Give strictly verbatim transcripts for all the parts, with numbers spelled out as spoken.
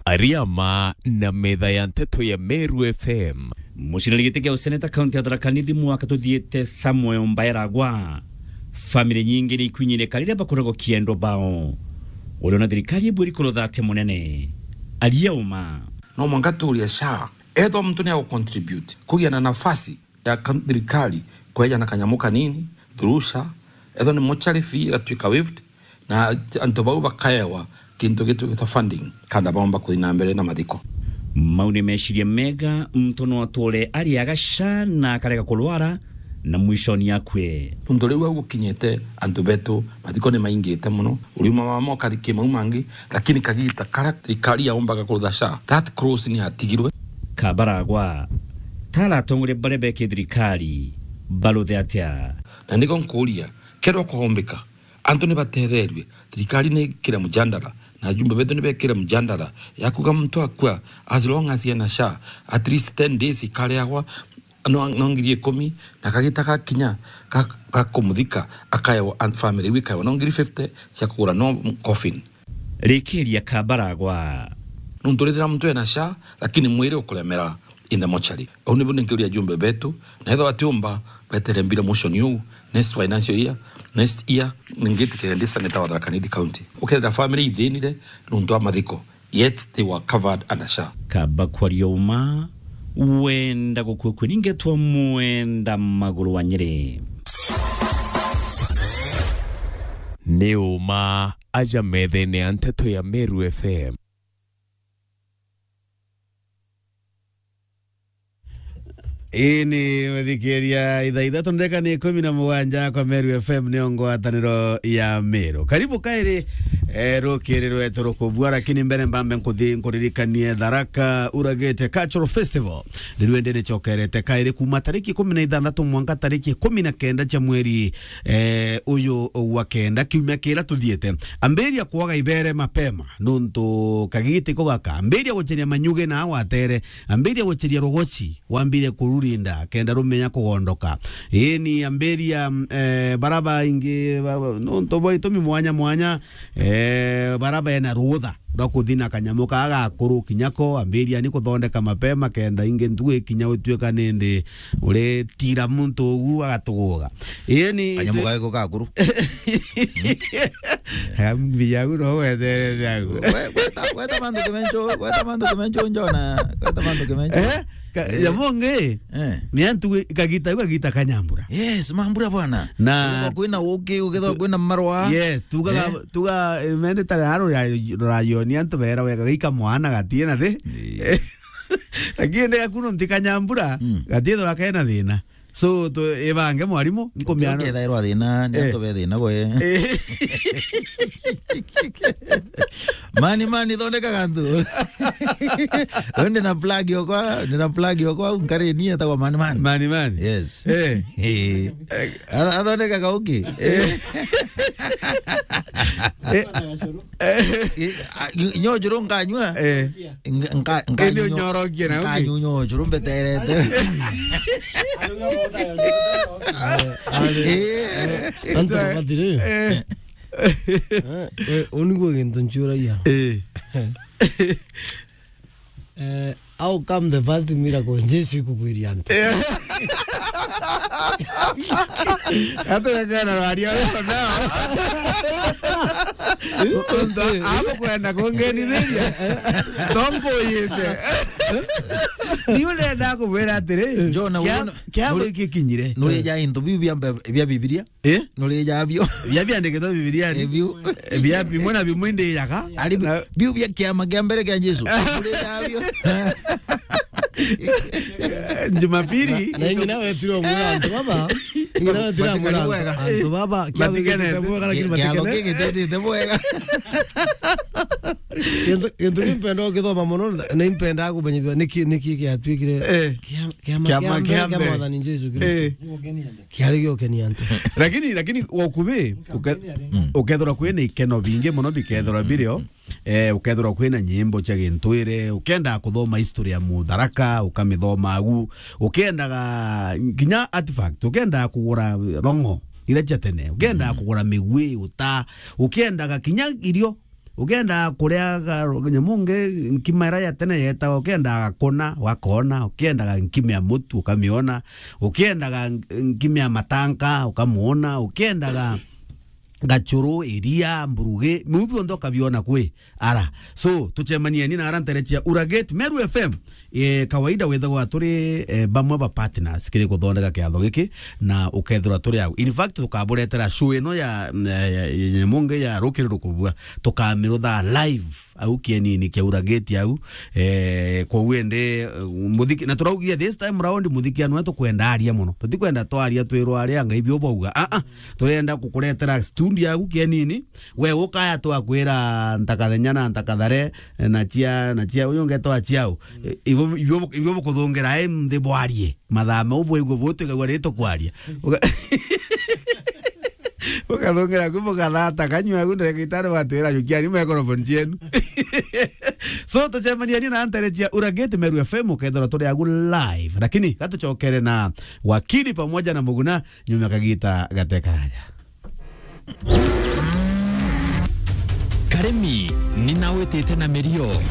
Ariama na metha ya nteto ya Meru F M. Mucinani giti kia useneta kaunti ya Tharaka Nithi mwaka tuthiite Samuel Mbaeragwa. Family nyingi ni ikwinyineka riria bakuragwo kiendo bao. Uriona thirikari ibwiri kurutha atia munene? Aria uma. No mwanka tuuria SHA, ethwa muntu ni agu contribute, kugia na nafasi ya kan-, thirikari kweja na kanyamu kanini, through SHA, ethwa ni mortuary fee igatuika waived, na antu bau bakaewa kintu gitwikite funding, kanda baomba kuthi na mbere na mathiko. Mau ni meciria mega, muntu no atore ariaga SHA na akarega kurwara, na mwishoni akue. Nuntu riu au gukinyite antu betu, mathiko ni maingite mono, uriuma mama ukari kimau mangi, lakini kagita karia thirikari yaombaga kurutha SHA, that clause ni yatigirwe. Kabaragwa, tara atongoria baria beki thirikari, baruthe atia? Na niko nkuuria, kerwa kwaombika, antu ni batetherue, thirikari ni ikire mjandara, na ajumbe betu ni bekire mjandara ya kuuga muntu akua, as long as ena SHA, at least ten days ikariagwa, no, no ngiri ikumi, na kagita gakinya ga, ga kumuthika, akaewa, and family iu ikaewa no ngiri fifty cia kugura no coffin. Rikiria Kabaragwa. Nuntu rithira muntu ena SHA, lakini mwiri ukuremera in the mortuary. Au nibu ninkiuria ajumbe betu, na ethwa batiumba betere mbira motion iu, next financial year, next year, ningitikia ndi senator wa Tharaka Nithi County. Ukethira family ithinire nuntu wa mathiko, yet they were covered under SHA. Kaba kwaria uma, wenda gukua kwe ningetwa mwenda maguru wa Nyeri. Ni uma aja methene ya nteto ya Meru F M. Ii ni muthikiria, ithaa ithatu ndereka ni ikumi na mugwanja kwa Meru F M, niyo ngwataniro ya Meru. Karibu kairi, eh, rukiri rwetu rukubua, lakini mbere mbambe nkuthi nkuririkanie Tharaka Uragite Cultural Festival. Ni rwende nicokerete kairi kuma tariki ikumi na ithanthatu mwanka tariki ikumi na kenda cia mweri, eh, uyu wa kenda, kiumia kiria tuthiite. Ambiria kwoga ibere mapema, nuntu kagiti ko gaka. Ambiria guceria manyuge na watere, ambiria guceria rogoci, wambire kururinda, kenda rumenya kugondoka. Ii ni ambiria, mm, eh, bara baingi, ba, ba, nuntu bwa itumi mwanya mwanya, eh, bara bena rutha rwa kuthi na kanyamu kaa gakuru kinya ko, ambiria ni kuthondeka mapema, kenda ingi ntugu ikinya utuika nindi uritira muntu ugu agatuguga. Ii ni kanyamu gaku gakuru. Mbiyagu no weterete agu. We-, weta, weta mantu kimencho, weta mantu kimencho njona, weta mantu kimencho. Eh? Ka-, eh, ya monge, eh, ni antu wi-, kagita, kagita kanyambura. Yes, mambura bwana. Na ukethwa kwina uki, ukethwa kwina marwa. Yes, tugaga, eh, tuga, eh, mende tare aro ya, rayoni antu bera wega gaika mwana gatie na thi. Eh. Lakini ndega kuno ntikanyambura, mm, gatie thora kena thina. So, tu, ibange mwarimu, nkumiana. Ukethairwa thina, ni, eh, antu be thina gwe. Eh. Mani, mani, thondeka gantu. Uyu ndi na plug okwa, ndi na plug okwa, nkari ni etagwa Mani, Mani. Mani, Mani. Yes. Eh. Eh. Atho-, athondeka gauki. Eh. Eh. Eh, a, nyo-, nyo njuru nkanyua. Eh. Nka-, nka-, nka-, indi nyo-, unyorokie na uki? Nkanyu nyo njuru mbeterete. Eh. Antu batiri. Eh. Eh, we, uniguo gintu nchuragia. Eh. Eh, how come the first miracle Jesu ikugwiria antu? Eh. Aturekana rwaria ruo nao. Untu amukwenda kungenithiria. Tonkuyite. Ni urenda kumwira atiri, Jona, kia, uyu no-, kia nuri-, gwikikinyire. Nurija into biu bia mbe-, bia Bibilia? Eh? Nurija bio. Bia biandikitwe Bibiliani. Eh, biu. Eh, bia bimwe na bimwe ndijaga. Ari bi-, na biu bia kiama kia mbere kia Jesu. Nurija bio. Jumapili. Na, na ingi nawe tiro mwira antu baba. Ingi nawe tiro mwira antu. Matikene. Antu baba, kia matikene. Bwega, lakini kia, kia matikene. Gigitete bwega. Kintu, kintu kimpenda ukithoma mono, na impenda kumenyithia niki, niki kiatwikire. Eh. Kia, kiama, kiama kia mbere kia mbere. Mwathani Jesu Kristo. Eh. Kiari giukenia antu. Lakini, lakini wa ukubi, uke-, mm, ukethirwa kwina ikeno bingi mono bikethirwa birio, eh, ukethirwa kwina nyimbo cia gintwire, ukenda kuthoma history ya Mutharaka, ukamithoma agu, ukendaga kinya artifact, ukenda kugura rongo ira cia tene, ukenda, mm, kugura migwi, uta, ukendaga kinya irio, Ukiendaga kuria ga-, nyamu ngi, nkima iria ya tene yetaga, ukiendaga gakona, ugakona, ukiendaga nkima ya mutu, ukamiona, ukiendaga nkima ya matanka, ukamuona, ukiendaga gachuru, iria, mburugi, miu bionthe ukabiona kwi ara. So, tucemanieni na ara ntere cia Uragate, Meru F M. E, kawaida withagwa turi, e, bamwe ba partners kiri kuthondeka kiatho giki, na ukethirwa turi au. In fact, tukaburetera show ino ya, ya, ya, ya nyamu ngi ya rukiri rukubua, tukamirutha live au kienini kia Uragate au. E, kwou indi, e, muthiki, na turaugia this time round muthiki anu tukwenda aria muno. Tutikwenda twaria twirwa aria ngai bio bauga. Ah, ah. Turenda kukuretera studio au kienini. We ukaya twakwira ntakathenya na ntakathare, na cia, na cia, uyu ungetwa ciao. Ibo, ibo, ibo bukuthungira, e, nthi bwarie. Mathaa mau bwaigua butigagua ri tukwaria. Uga-, ukathungira ku bukathata, kanyua ku ndagitari batwira, "Jukiani microphone cienu." So, tucemanieni na ntere cia Uragate Meru F M, ukethirwa turi agu live. Lakini gatucokere na Wakili pamoja na Muguna, nyuma kagita gatekaraja. Karimi, ninawitite na mirio.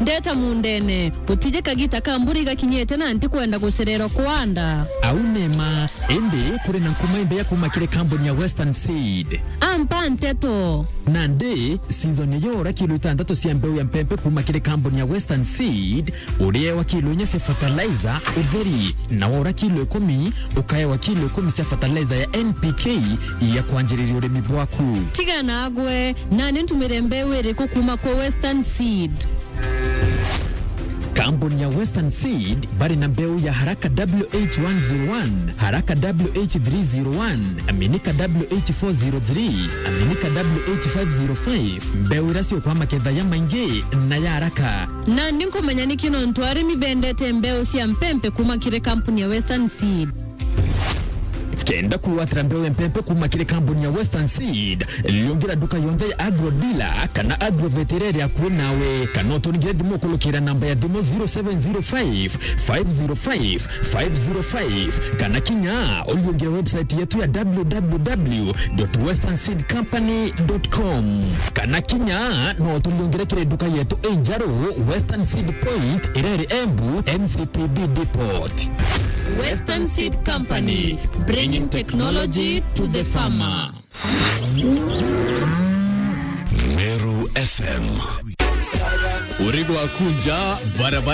Ndeta mundene, gutije kagita ka mbura igakinyite na ntikwenda gucererwa kwanda. Au nema, indi kuri na nkuma imbeya kuma kiri kambuni ya Western Seed. Ampa nteto. Nandi, season iyo ura kilo itantatu cia mbeu ya mpempe kuma kiri kambuni ya Western Seed, uriewa kilo inya cia fertilizer utheri, na wora kilo ikumi, ukaewa kilo ikumi cia fertilizer ya N P K ya kwanjiriria urimi bwaku. Tiga nagwe, nani ntumire mbeu iriku kuma kwa Western Seed? Kambuni ya Western Seed bari na mbeu ya Haraka W H one zero one, Haraka W H three zero one, Aminika W H four zero three, Aminika W H five zero five, mbeu iria ciukwa maketha ya maingi na ya haraka. Nandi nkumenya niki nontu arimi bendete mbeu cia mpempe kuma kiri kampuni ya Western Seed. Kenda kugwatira mbeu ya mpempe kuma kiri kampuni ya Western Seed, liungira nduka yonthe ya Agro Dealer kana Agrovet iria iri akui nawe, kana uturingire thimu ukurukira namba ya thimu zero seven zero five, five zero five, five zero five, kana kinya uliungire website yetu ya w w w dot western seed company dot com. Kana kinya no tuliungire kiri nduka yetu injeru, Western Seed Point, iria iri Embu, N C P B Depot. Western Seed Company, bringing technology to the farmer. Meru F M. Uri gwaku nja, barabara